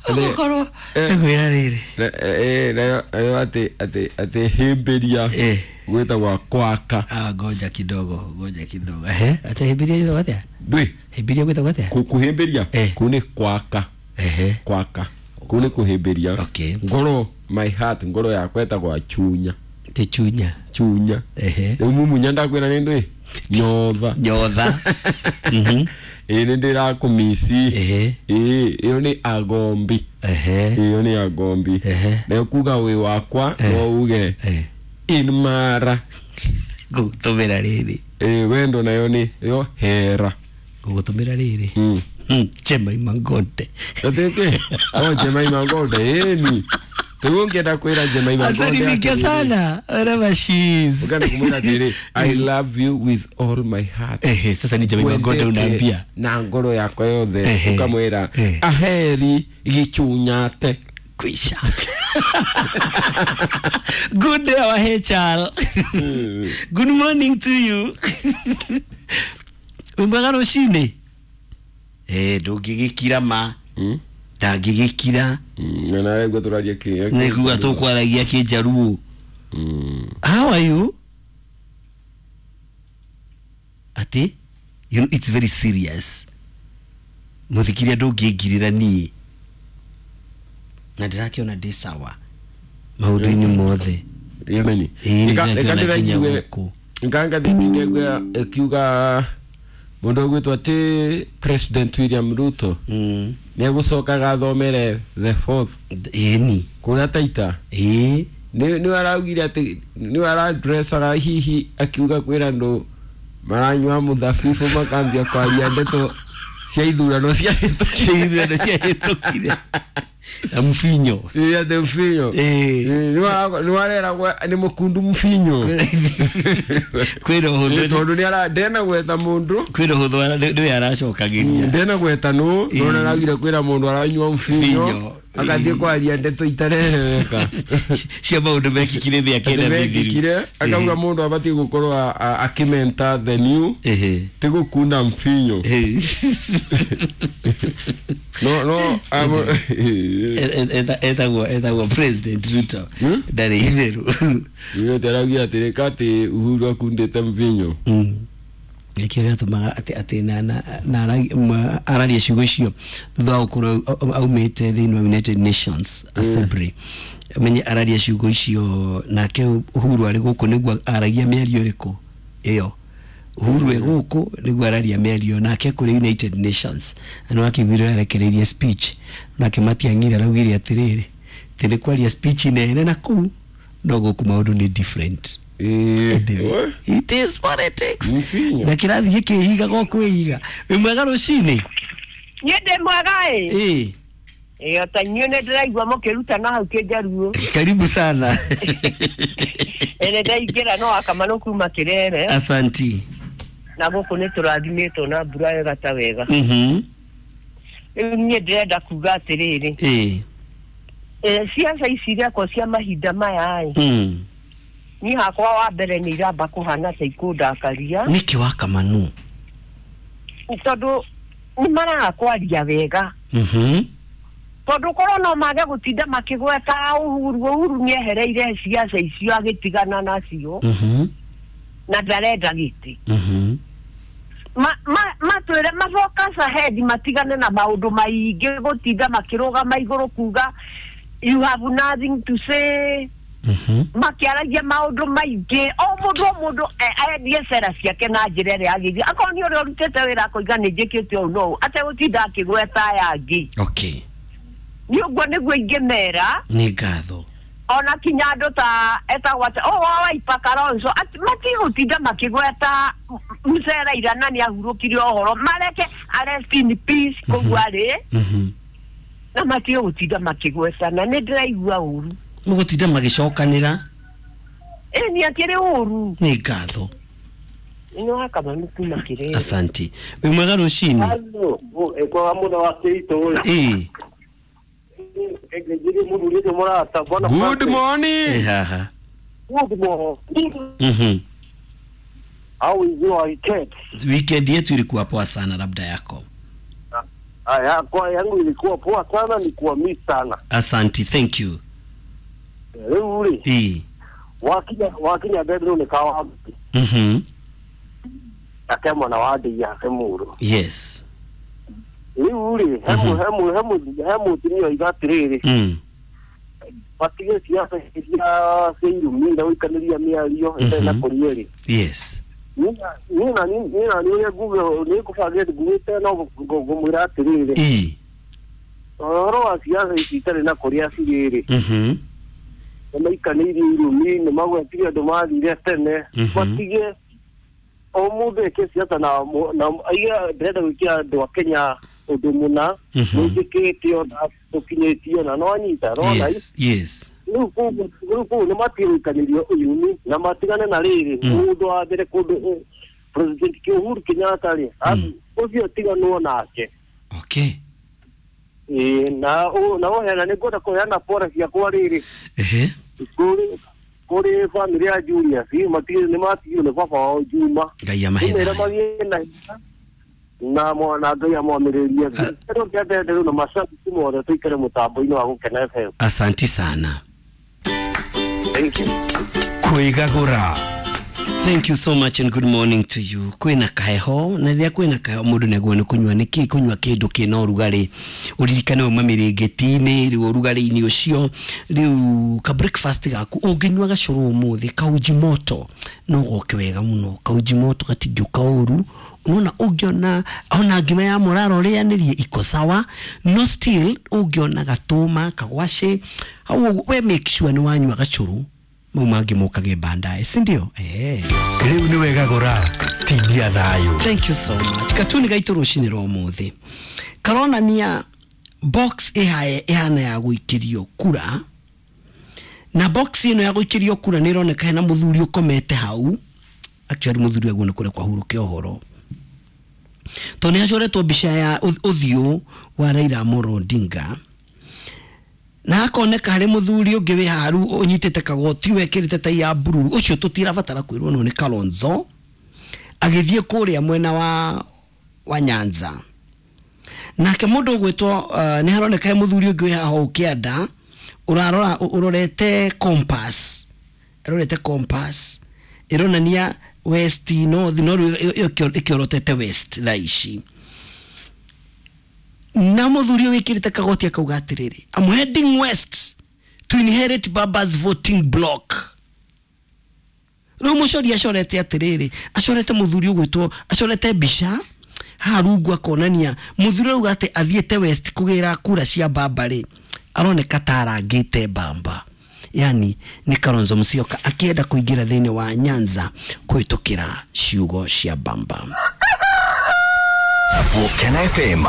Ũgũkorwo ngwĩra rĩrĩ. Nayo atĩ hĩmbĩria gwĩtagwo kwaka. Ah, ngoja kidogo, ngoja kidogo. Ehe, atĩ hĩmbĩria gwĩtagwo atĩa? Ndwĩ. Hĩmbĩria gwĩtagwo atĩa? Kũhĩmbĩria kũu nĩ kwaka. Ehe. Kwaka kũu nĩ kũhĩmbĩria. Okay. Ngoro, my heart, ngoro yakwa ĩtagwo chunya. Ti chunya. Chunya. Ehe. Rĩu mumunya ndakwĩra nĩ ndwĩ nyotha. Nyotha. Ĩĩ nĩ ndĩrakũmici. Ehe. Ĩĩ ĩyo nĩ agombi. Ehe. Ĩyo nĩ agombi. Ehe. Nayo kuga wĩ wakwa no uge in mara. Ngũgũtũmĩra rĩrĩ. Ĩĩ wendo nayo nĩ yo hera. Ngũgũtũmĩra rĩrĩ. Jemima Ngonde. Atĩkĩ? O Jemima Ngonde ĩni. Rĩu ũngĩenda kwĩra Jemima Ngonde Asalimike atĩrĩrĩ. sana. Wherever she is. Ũngĩenda kũmwĩra atĩrĩrĩ, I love you with all my heart. Ehe, sasa ni Jemima Ngonde Wendete unaambia. na ngoro yakwa yothe Ehe. ukamwĩra Ehe. aheri gĩchunyate. Kwisha. Good day, our HR. Good morning to you. Wĩ mwega rũcinĩ? Ndũngĩgĩkira ma. Ndangĩgĩkira. Na nawe guo tũraria kĩ. Nĩ kuga tũkwaragia kĩnjaruo. How are you? Ati? You know, it's very serious. Mũthikiria ndũngĩngirĩra niĩ. Na ndĩrakĩona ndĩ sawa maũndũ-inĩ mothe. Yemeni. Ĩĩ, nĩndĩrakĩona nginya gũkũ. Ngangathĩti ndegwa ĩkiuga mũndũ ũgwĩtwo atĩ President William Ruto nĩ egũcokaga athomere the fourth. Ĩni. Kũrĩa Taita. Ĩĩ. Nĩ araugire atĩ nĩ aradressaga hihi akiuga kwĩra andũ maranyua mũthabibũ makambia kwaria ndeto cia ithurano cia Cia ithurano cia hĩtũkire. Na mfinyo. Ĩĩ, atĩ mfinyo. Ĩĩ. Nĩ wareragwo nĩ mũkundu mfinyo. Kwĩna ũhũthũ. Tondũ nĩ ara ndena gwetha mũndũ. Kwĩna ũhũthũ nĩwe aracokagĩria. Ndena gwetha nũ, no nĩ araugire kwĩra mũndũ aranyua mfinyo. Mfinyo. Agathiĩ kwaria ndeto itarereweka. Cia maũndũ mekĩkire mĩaka ĩna mĩthiru. Mekĩkire, akauga mũndũ abatiĩ gũkorwo akĩmenta the new. Ti gũkunda mfinyo. No, no, Etagwo President Ruto. Ndarĩ itherũ. Nĩ araugire atĩrĩ atĩ Uhuru akundĩte mvinyo. Nĩkĩo gĩatũmaga atĩ na araria ciugo icio thutha wa gũkorwo aumĩte thĩinĩ wa United Nations Assembly. Menye araria ciugo icio nake Uhuru arĩ gũkũ nĩguo aragia mĩario ĩrĩkũ ĩyo. Uhuru e gũkũ nĩguo araria mĩario nake kũrĩ United Nations. Na nĩ wakĩiguire arekereirie speech nake Matiang'i araugire atĩrĩrĩ atĩ nĩ kwaria speech nene na kũu no gũkũ maũndũ nĩ different. Anyway, it is politics. Na kĩrathiĩ gĩkĩhiga gũkwĩhiga. Wĩ mwega rũcinĩ? Niĩ ndĩ mwega ĩ. Ĩĩ. Ĩ, ota inyuĩ nĩ ndĩraigua mũkĩrutana hau kĩnjaruo. Karibu sana. Ĩ, nĩ ndaingĩra no akamanũ kuma Kĩrere. Asanti. Na gũkũ nĩ tũrathimĩtwo na mbura wega ta wega. Rĩu niĩ ndĩrenda kuga atĩrĩrĩ. Ĩĩ. Ciaca ici irekwo cia mahinda maya ĩ. Niĩ hakwa wa mbere nĩ iramba kũhana ta ikũndakaria. Nĩkĩ wa Kamanu? Tondũ nĩ maraga kwaria wega. Tondũ korwo no mage gũtinda makĩgweta Uhuru, Uhuru nĩehereire ciaca icio agĩtigana nacio. Na ndarenda gĩtĩ. Matwĩre mafocus ahead matigane na maũndũ maingĩ gũtinda makĩrũgama igũrũ kuga you have nothing to say. Makĩaragia maũndũ maingĩ o mũndũ endie cera ciake na njĩra ĩrĩa yagĩrĩire. Akorwo nĩ ũrĩa ũrutĩte wĩra akoiga nĩ njĩkĩte ũũ na ũũ ategũtinda akĩgweta aya angĩ. Okay. Nĩ ũguo nĩguo ingĩmera. Nĩ ngatho. Ona kinya andũ ta etagwo atĩ o wa Wiper Kalonzo matigũtinda makĩgweta Mzee Raila na nĩ ahurũkire ũhoro mareke rest in peace kũu arĩ. Na matigũtinda makĩgwetana nĩ ndĩraigua ũru. Mũgũtinda magĩcokanĩra. Ĩ, nĩ akĩrĩ ũru. Nĩ ngatho. Nĩ wa Kamanu kuma Kĩrere. Asanti. Wĩ mwega rũcinĩ? Kwa mũno wa Kĩritũ. Ĩĩ. Good morning. Haha. Good morning. How is your weekend? Weekend yetu ilikuwa poa sana, labda yako. Aya, kwa yangu ilikuwa poa sana, ni kuwa miss sana. Asanti, thank you. Rĩu rĩ, Ii. wakinya bedroom nĩ kawa ake mwana wa ndĩia ake mũrũ. Yes. Rĩu rĩ, he mũtumia oiga atĩrĩrĩ, matige siasa cia irumi na gũikanĩria mĩario ĩtarĩ na kũria rĩ. Yes. Niĩ na niĩ ũrĩa nguge nĩ ngũbangĩte ngugĩte no ngũmwĩra atĩrĩrĩ, ũhoro wa siasa ici itarĩ na kũrĩa cirĩ rĩ, nĩ maikanĩirie irumi, nĩ magwetire andũ mathire tene, matige o mũndũ eke siasa na aige ndĩrenda gwĩkĩra andũ a Kenya ũndũ mũna, mwĩtĩkĩtio na tũkinyĩtio na no anyita no Yes. Yes. rĩu kũu nĩ matige gũikanĩrio irumi na matigane na rĩrĩ mũndũ wa mbere kũndũ President Uhuru Kenyatta rĩ, ũcio tiganwo nake. Okay. Na ũheana nĩ ngwenda kũheana pore ciakwa rĩrĩ kũrĩ famĩlĩ ya Julius, nĩ matigirwo nĩ baba wao Juma. Ngai amahe Nĩmera thayũ. magĩe na hinya na mwana Ngai amwamĩrĩrie. Rĩu kĩendete rĩu na macabiki mothe tũikare mũtambo-inĩ wa Gũkena FM. Asanti sana. Thank you. Kwĩgagũra. Thank you so much and good morning to you. Kwĩna kaheho na rĩrĩa kwĩna kaheho mũndũ nĩaguo nĩ kũnyua nĩkĩ kũnyua kĩndũ kĩna ũrugarĩ ũririkane uma mĩrĩngĩti-inĩ rĩu ũrugarĩ-inĩ ũcio rĩu ka breakfast gaku ũngĩnyua gacũrũ ũmũthĩ kauji moto no goke wega mũno kauji moto gatingĩũka ũru unaona ũngĩona ona ngima ya mũraro rĩanĩrie iko sawa no still ũngĩona gatũma kagwacĩ hau ũguo we make sure nĩ wanyua gacũrũ mau mangĩ mokage baadaye si ndio? Rĩu nĩ wegagũra tindia thayũ. Thank you so much. Katuni gaitũ rũcinĩ rwa ũmũthĩ karonania box ĩhana ya gũikĩrio kura na box ĩno ya gũikĩrio kura nĩ ĩroneka hena mũthuri ũkomete hau actually mũthuri aguo nĩ kũrĩa kwahurũke ũhoro tondũ nĩ acoretwo mbica ya ũthiũ wa Raila Amolo Odinga na hakoneka harĩ mũthuri ũngĩ wĩ haru ũnyitĩte kagoti wekĩrĩte tai ya bururu ũcio tũtirabatara kwĩrwo no nĩ Kalonzo agĩthiĩ kũrĩa mwena wa Nyanza nake mũndũ ũgwĩtwo nĩ haroneka he mũthuri ũngĩ wĩ haha ũkĩanda ũrarora ũrorete compass ĩrorete compass ĩronania west north no rĩu ĩkĩorotete west thaa ici na mũthuri ũyũ wĩkĩrĩte kagoti akauga atĩrĩrĩ, I'm heading west to inherit Baba's voting block. Rĩu mũcori acorete atĩrĩrĩ, acorete mũthuri ũgwĩtwo acorete mbica haha rungu akonania mũthuri auga atĩ athiĩte west kũgĩra kura cia Baba rĩ aroneka ta arangĩte Bamba yani nĩ Kalonzo Musyoka akĩenda kũingĩra thĩinĩ wa Nyanza kũhĩtũkĩra ciugo cia Bamba. Gũkena FM.